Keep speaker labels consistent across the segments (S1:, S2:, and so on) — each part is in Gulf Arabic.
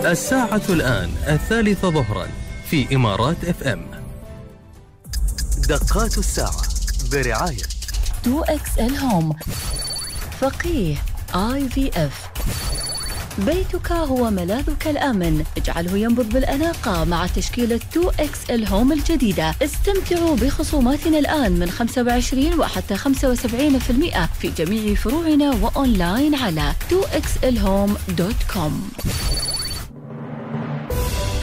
S1: الساعة الآن 3 ظهرا في إمارات FM. دقات الساعة برعاية
S2: 2XL Home، فقيه IVF. بيتك هو ملاذك الآمن، اجعله ينبض بالأناقة مع تشكيلة 2XL Home الجديدة. استمتعوا بخصوماتنا الآن من 25 وحتى 75% في جميع فروعنا وأونلاين على 2xlhome.com.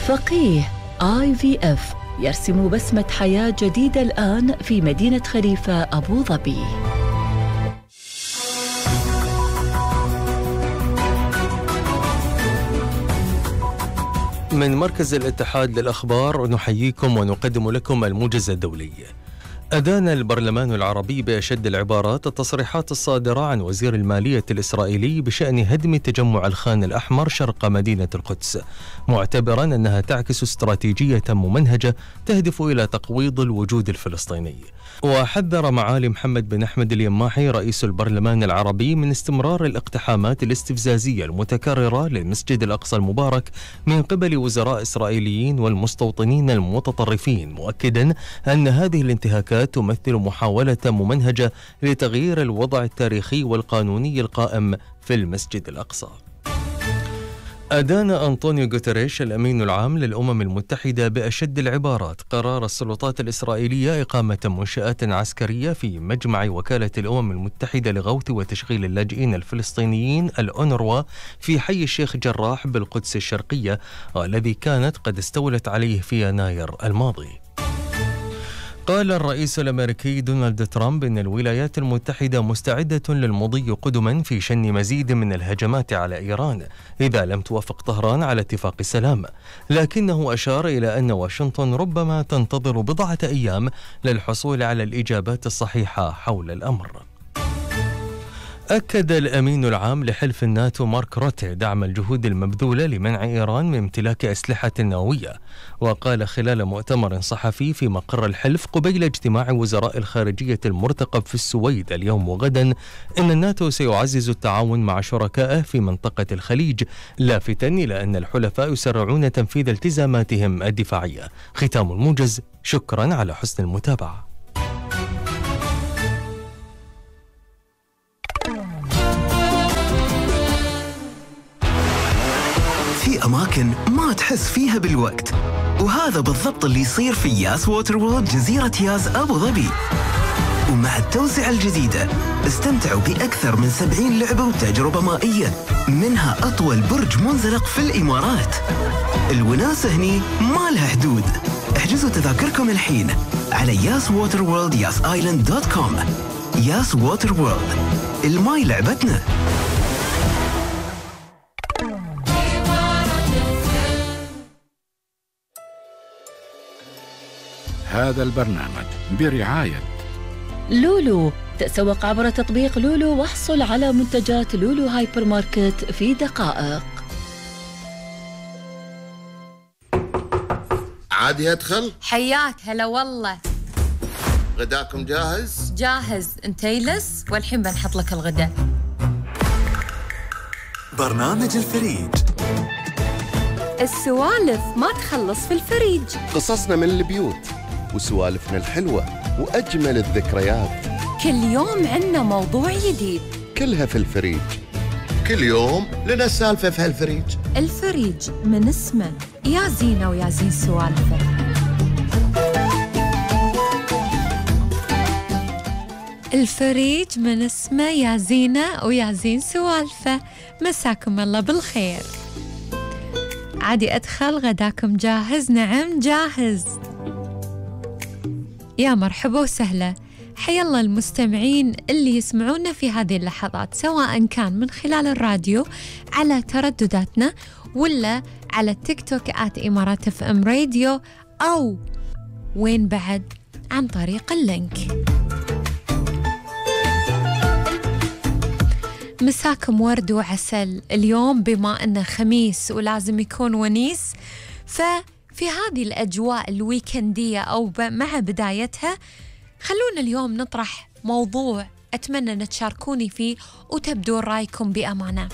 S2: فقيه IVF يرسم بسمة حياة جديدة الآن في مدينة خليفة أبو ظبي.
S1: من مركز الاتحاد للأخبار نحييكم ونقدم لكم الموجز الدولي. أدان البرلمان العربي بأشد العبارات التصريحات الصادرة عن وزير المالية الإسرائيلي بشأن هدم تجمع الخان الأحمر شرق مدينة القدس، معتبرا أنها تعكس استراتيجية ممنهجة تهدف إلى تقويض الوجود الفلسطيني. وحذر معالي محمد بن أحمد اليماحي رئيس البرلمان العربي من استمرار الاقتحامات الاستفزازية المتكررة للمسجد الأقصى المبارك من قبل وزراء إسرائيليين والمستوطنين المتطرفين، مؤكدا أن هذه الانتهاكات تمثل محاولة ممنهجة لتغيير الوضع التاريخي والقانوني القائم في المسجد الأقصى. أدان أنطونيو غوتيريش الأمين العام للأمم المتحدة بأشد العبارات قرار السلطات الإسرائيلية إقامة منشآت عسكرية في مجمع وكالة الأمم المتحدة لغوث وتشغيل اللاجئين الفلسطينيين الأونروا في حي الشيخ جراح بالقدس الشرقية، والذي كانت قد استولت عليه في يناير الماضي. قال الرئيس الأمريكي دونالد ترامب إن الولايات المتحدة مستعدة للمضي قدما في شن مزيد من الهجمات على إيران إذا لم توافق طهران على اتفاق سلام، لكنه أشار إلى أن واشنطن ربما تنتظر بضعة أيام للحصول على الإجابات الصحيحة حول الأمر. أكد الأمين العام لحلف الناتو مارك روتي دعم الجهود المبذولة لمنع إيران من امتلاك أسلحة نووية، وقال خلال مؤتمر صحفي في مقر الحلف قبيل اجتماع وزراء الخارجية المرتقب في السويد اليوم وغدا إن الناتو سيعزز التعاون مع شركائه في منطقة الخليج، لافتاً إلى أن الحلفاء يسرعون تنفيذ التزاماتهم الدفاعية. ختام الموجز، شكراً على حسن المتابعة.
S3: في أماكن ما تحس فيها بالوقت، وهذا بالضبط اللي يصير في ياس ووتر وورلد جزيرة ياس أبو ظبي. ومع التوسعة الجديدة استمتعوا بأكثر من 70 لعبة وتجربة مائية، منها أطول برج منزلق في الإمارات. الوناسة هني ما لها حدود. احجزوا تذاكركم الحين على yaswaterworld.com. ياس ووتر وورلد، الماي لعبتنا.
S4: هذا البرنامج برعاية
S2: لولو. تسوق عبر تطبيق لولو واحصل على منتجات لولو هايبر ماركت في دقائق.
S5: عادي أدخل؟
S6: حياك هلا والله.
S5: غداكم جاهز؟
S6: جاهز، انت يلس والحين بنحط لك الغداء.
S7: برنامج الفريج.
S6: السوالف ما تخلص في الفريج.
S5: قصصنا من البيوت وسوالفنا الحلوة وأجمل الذكريات.
S6: كل يوم عنا موضوع جديد،
S5: كلها في الفريج. كل يوم لنا سالفة في هالفريج.
S6: الفريج من اسمه يا زينة ويا زين سوالفه. الفريج من اسمه يا زينة ويا زين سوالفه. مساكم الله بالخير. عادي أدخل، غداكم جاهز؟ نعم جاهز. يا مرحبا وسهلا، حيا الله المستمعين اللي يسمعونا في هذه اللحظات، سواء كان من خلال الراديو على تردداتنا ولا على التيك توك @إمارات FM راديو، أو وين بعد عن طريق اللينك. مساكم ورد وعسل. اليوم بما أنه خميس ولازم يكون ونيس، ففي هذه الأجواء الويكندية أو مع بدايتها خلونا اليوم نطرح موضوع أتمنى أن تشاركوني فيه وتبدون رأيكم بأمانة.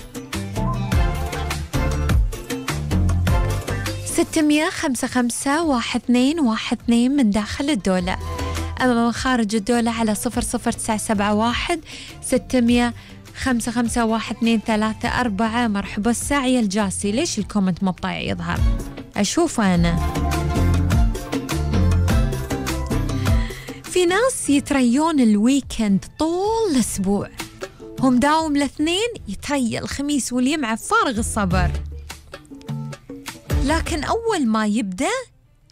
S6: 655-1212 من داخل الدولة. أما من خارج الدولة على 00971 655-1234. مرحبا الساعي الجاسي. ليش الكومنت ما بطايع يظهر؟ أشوف أنا في ناس يتريون الويكند طول الأسبوع، هم داوم الاثنين يتريى الخميس والجمعة فارغ الصبر، لكن أول ما يبدأ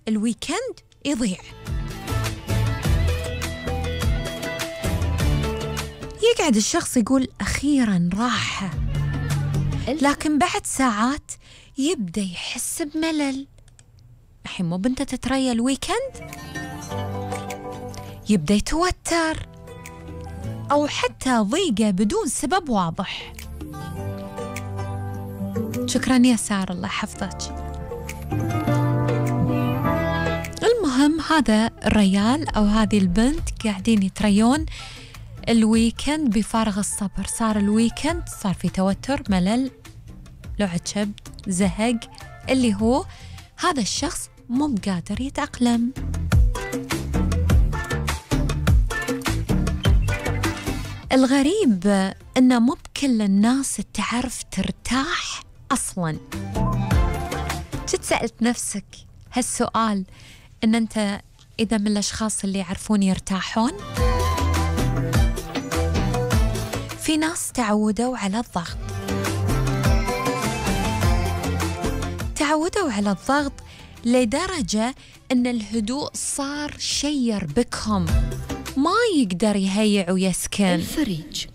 S6: الويكند يضيع. يقعد الشخص يقول أخيراً راحة، لكن بعد ساعات يبدأ يحس بملل. الحين مو بنت تتريى الويكند، يبدأ يتوتر أو حتى ضيقة بدون سبب واضح. شكراً يا سارة، الله يحفظك. المهم هذا الريال أو هذه البنت قاعدين يتريون الويكند بفارغ الصبر. صار الويكند صار في توتر، ملل، لعب شبد، زهق، اللي هو هذا الشخص مو قادر يتأقلم. الغريب إن مو بكل الناس تعرف ترتاح أصلاً. جيت سألت نفسك هالسؤال، إن أنت إذا من الأشخاص اللي يعرفون يرتاحون؟ في ناس تعودوا على الضغط، تعودوا على الضغط لدرجة أن الهدوء صار شيء يربكهم، ما يقدر يهيع ويسكن.
S2: الفريج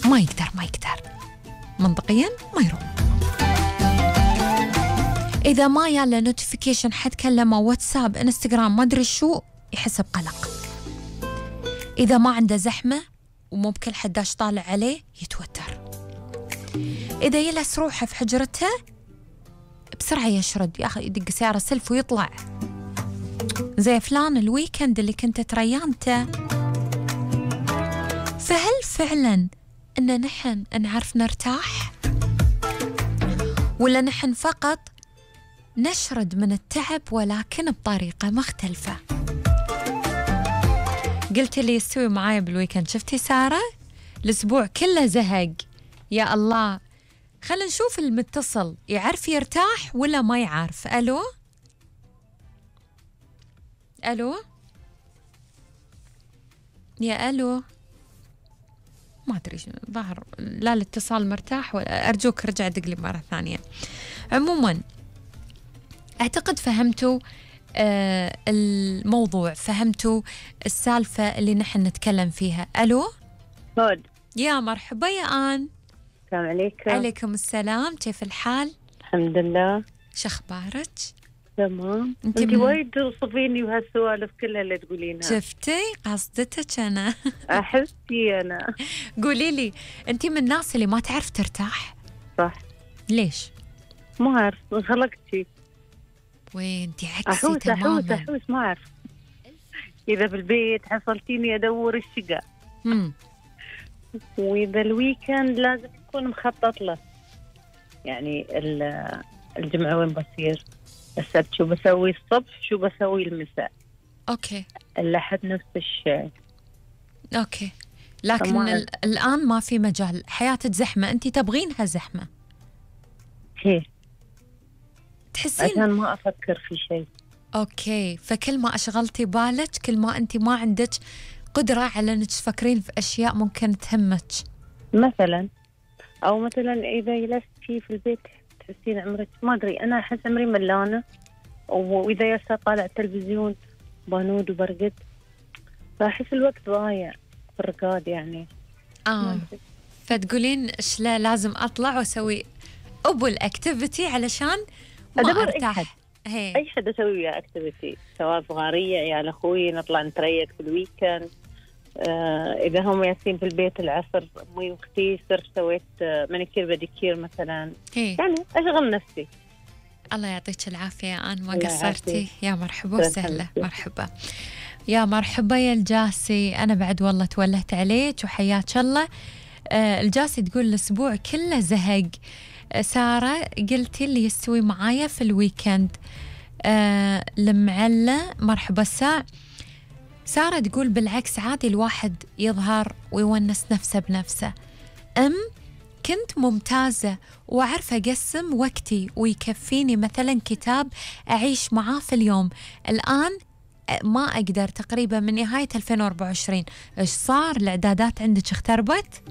S6: ما يقدر منطقيا ما يروح. إذا ما يلا نوتيفيكيشن حد كلمه، واتساب، انستغرام، ما أدري شو، يحس بقلق. إذا ما عنده زحمة ومو بكل حداش طالع عليه يتوتر. إذا يلس روحه في حجرته بسرعة يشرد، ياخذ يدق سيارة سلف ويطلع زي فلان الويكند اللي كنت تريانته. فهل فعلا إن نحن نعرف نرتاح، ولا نحن فقط نشرد من التعب ولكن بطريقة مختلفة؟ قلت اللي يستوي معايا بالويكند. شفتي سارة؟ الأسبوع كله زهق. يا الله، خلينا نشوف المتصل يعرف يرتاح ولا ما يعرف. ألو يا ألو، ما أدري ظهر لا الاتصال مرتاح، ولا أرجوك رجع دق لي مرة ثانية. عموما أعتقد فهمتوا الموضوع، فهمتوا السالفة اللي نحن نتكلم فيها. ألو
S8: هود،
S6: يا مرحبا يا آن.
S8: السلام عليكم.
S6: عليكم السلام، كيف الحال؟
S8: الحمد لله.
S6: شخبارك؟
S8: تمام. انت وايد توصفيني بهالسوالف كلها اللي تقولينها.
S6: شفتي قصدتك أنا.
S8: أحسي أنا.
S6: قولي لي، أنت من الناس اللي ما تعرف ترتاح؟
S8: صح.
S6: ليش؟
S8: ما أعرف، انخلقت شي.
S6: وين انت عكسي تماما.
S8: أحوس ما أعرف. إذا بالبيت حصلتيني أدور الشقة. وإذا الويكند لازم يكون مخطط له، يعني الجمعة وين بصير، السبت شو بسوي الصبح، شو بسوي المساء.
S6: أوكي.
S8: الأحد نفس الشيء.
S6: أوكي، لكن الآن ما في مجال، حياتك زحمة، أنت تبغينها زحمة.
S8: هي
S6: تحسين
S8: عشان ما أفكر في شيء.
S6: أوكي، فكل ما أشغلتي بالك كل ما أنت ما عندك قدرة على أنك تفكرين في أشياء ممكن تهمك.
S8: مثلا إذا جلستي في البيت تحسين عمرك، ما أدري، أنا أحس عمري ملانة، وإذا يسا طالع التلفزيون بانود وبرقد، فأحس الوقت ضايع في الرقاد يعني.
S6: فتقولين إيش لازم أطلع وأسوي الأكتيفيتي علشان ما أرتاح.
S8: أي حد أسوي وياه أكتيفيتي، سواء صغارية عيال أخوي نطلع نتريق في الويكند. إذا هم ياسين في البيت العصر، أمي وأختي صرت سويت مانيكير بديكير مثلا. يعني أشغل نفسي.
S6: الله يعطيك العافية يا آن، ما قصرتي. يا مرحبا وسهلا. مرحبا يا مرحبا يا الجاسي. أنا بعد والله تولهت عليك وحياك الله. الجاسي تقول الأسبوع كله زهق، سارة قلتي اللي يستوي معايا في الويكند. المعلة مرحبا سارة تقول بالعكس عادي الواحد يظهر ويونس نفسه بنفسه. كنت ممتازة وأعرف أقسم وقتي ويكفيني مثلا كتاب أعيش معاه في اليوم. الآن ما أقدر تقريبا من نهاية 2024. إيش صار؟ الإعدادات عندك اختربت؟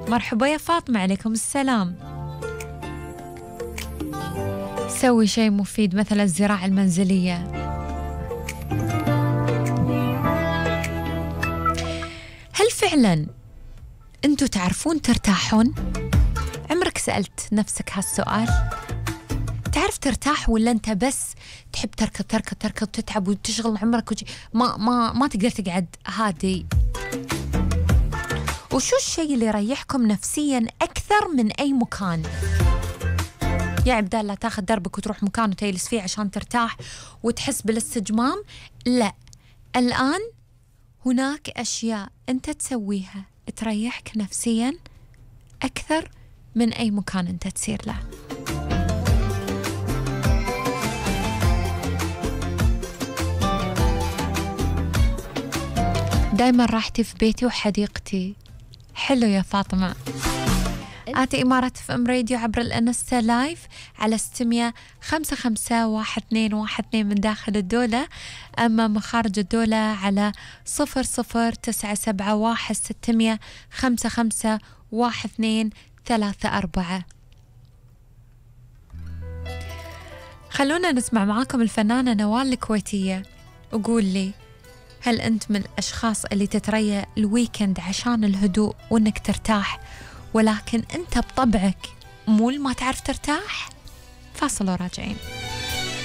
S6: مرحبا يا فاطمة، عليكم السلام. سوي شيء مفيد مثل الزراعة المنزلية. هل فعلا أنتوا تعرفون ترتاحون؟ عمرك سألت نفسك هالسؤال؟ تعرف ترتاح ولا أنت بس تحب تركض وتتعب وتشغل عمرك ما تقدر تقعد هادي؟ وشو الشيء اللي يريحكم نفسيا أكثر من أي مكان؟ يا عبدالله لا تاخذ دربك وتروح مكان وتجلس فيه عشان ترتاح وتحس بالاستجمام. لا، الآن هناك أشياء أنت تسويها تريحك نفسيا أكثر من أي مكان أنت تسير له. دايما راحتي في بيتي وحديقتي. حلو يا فاطمة. آتي إمارة FM راديو عبر الانستا لايف على 655-1212 من داخل الدولة، أما مخارج الدولة على 009715511234. خلونا نسمع معاكم الفنانة نوال الكويتية. وقول لي، هل أنت من الأشخاص اللي تتريى الويكند عشان الهدوء وإنك ترتاح، ولكن أنت بطبعك مو ما تعرف ترتاح؟ فاصل وراجعين.